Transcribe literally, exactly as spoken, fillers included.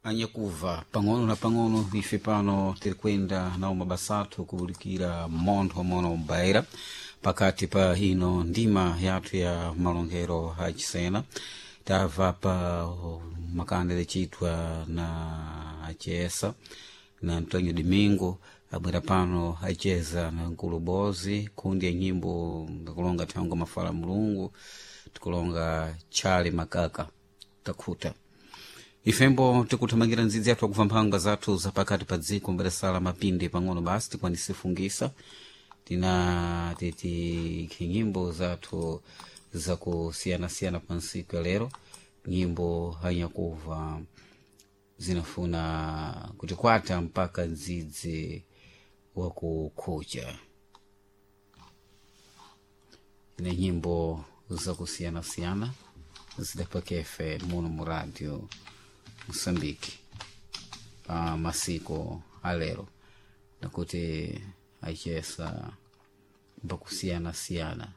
Anyakuva pang'ono na pang'ono ife pano tiri kwenda nawo mabasa athu kubulikira montho mono mbaira pakati pa ino ndima yathu ya malongero achisena. Tamva pa makanda lecitwa na acesa na Antonio Domingo, abwera pano acheza na Nkulu Bozi kundi ya nyimbo ngakulonga thangwe mafala Mulungu tikulonga Chale Makaka takhuta. Ifembo tikuthamangira ndzidzi yathu akuva mphanga zathu zapakati pa dziko mbadasala mapindi pang'ono basi tikwanise fungisa tina titi nyimbo zathu zakusiyanasiyana pa nsiku ya lero. Nyimbo hanyakuva zinafuna kutikwata mpaka ndzidzi wakukhucha ina nyimbo zakusiyanasiyana zidapakefe muno mu Radio Moçambique pa masiko alero nakuti achesa mbakusiyanasiyana.